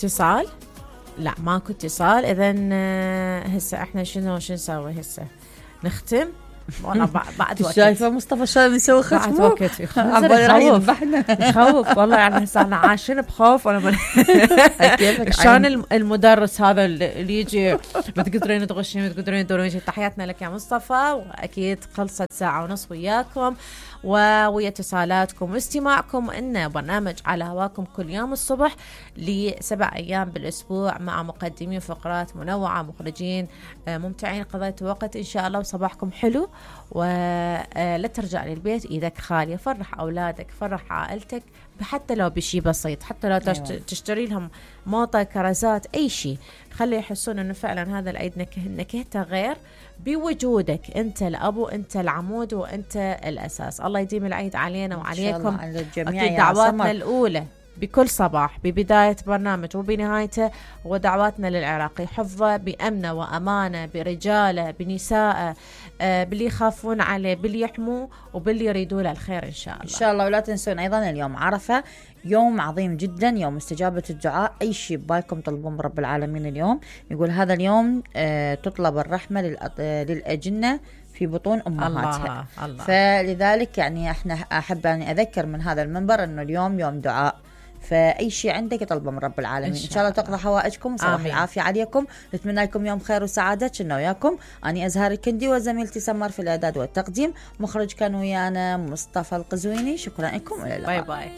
اتصال؟ لا ماكو اتصال. اذن هسه احنا شنو نسوي هسه؟ نختم؟ والله بعد وقت. شايفه مصطفى شلون يسوي ختمه؟ بعد وقت يخوف والله. يعني هسه احنا عايشين بخوف. وانا شلون المدرس هذا اللي يجي ما تقدرين تغشين، ما تقدرين تدورين. تحياتنا لك يا مصطفى، واكيد خلصت ساعه ونص وياكم ويا اتصالاتكم واستماعكم. إن برنامج على هواكم كل يوم الصبح ل7 أيام بالأسبوع، مع مقدمين فقرات منوعة، مخرجين ممتعين. قضيتوا وقت إن شاء الله وصباحكم حلو. ولا ترجع للبيت إيدك خالية. فرح أولادك، فرح عائلتك، حتى لو بشي بسيط، حتى لو تشتري لهم موطة، كرزات، أي شيء. خلي يحسون أنه فعلا هذا العيد نكهته غير بوجودك. أنت الأبو، أنت العمود، وأنت الأساس. الله يديم العيد علينا وعليكم. أكيد دعواتنا الأولى بكل صباح ببداية برنامج وبنهايته، ودعواتنا للعراقي حفظه بأمنه وأمانه، برجاله، بنساءه، باللي يخافون عليه، باللي يحموه، وباللي يريدوا له الخير إن شاء الله. إن شاء الله. ولا تنسون أيضا اليوم عرفة، يوم عظيم جدا، يوم استجابة الدعاء. أي شيء ببالكم طلبون من رب العالمين اليوم. يقول هذا اليوم تطلب الرحمة للأجنة في بطون أمهاتها. الله. فلذلك يعني احنا أحب أن أذكر من هذا المنبر أنه اليوم يوم دعاء، فأي شيء عندك طلبه من رب العالمين. إن شاء الله تقضى حوائجكم. صباح العافية عليكم. نتمنى لكم يوم خير وسعادة. كنا وياكم أني أزهار الكندي وزميلتي سمر في الإعداد والتقديم. مخرج كان ويانا مصطفى القزويني. شكرا لكم وإلى اللقاء. باي باي.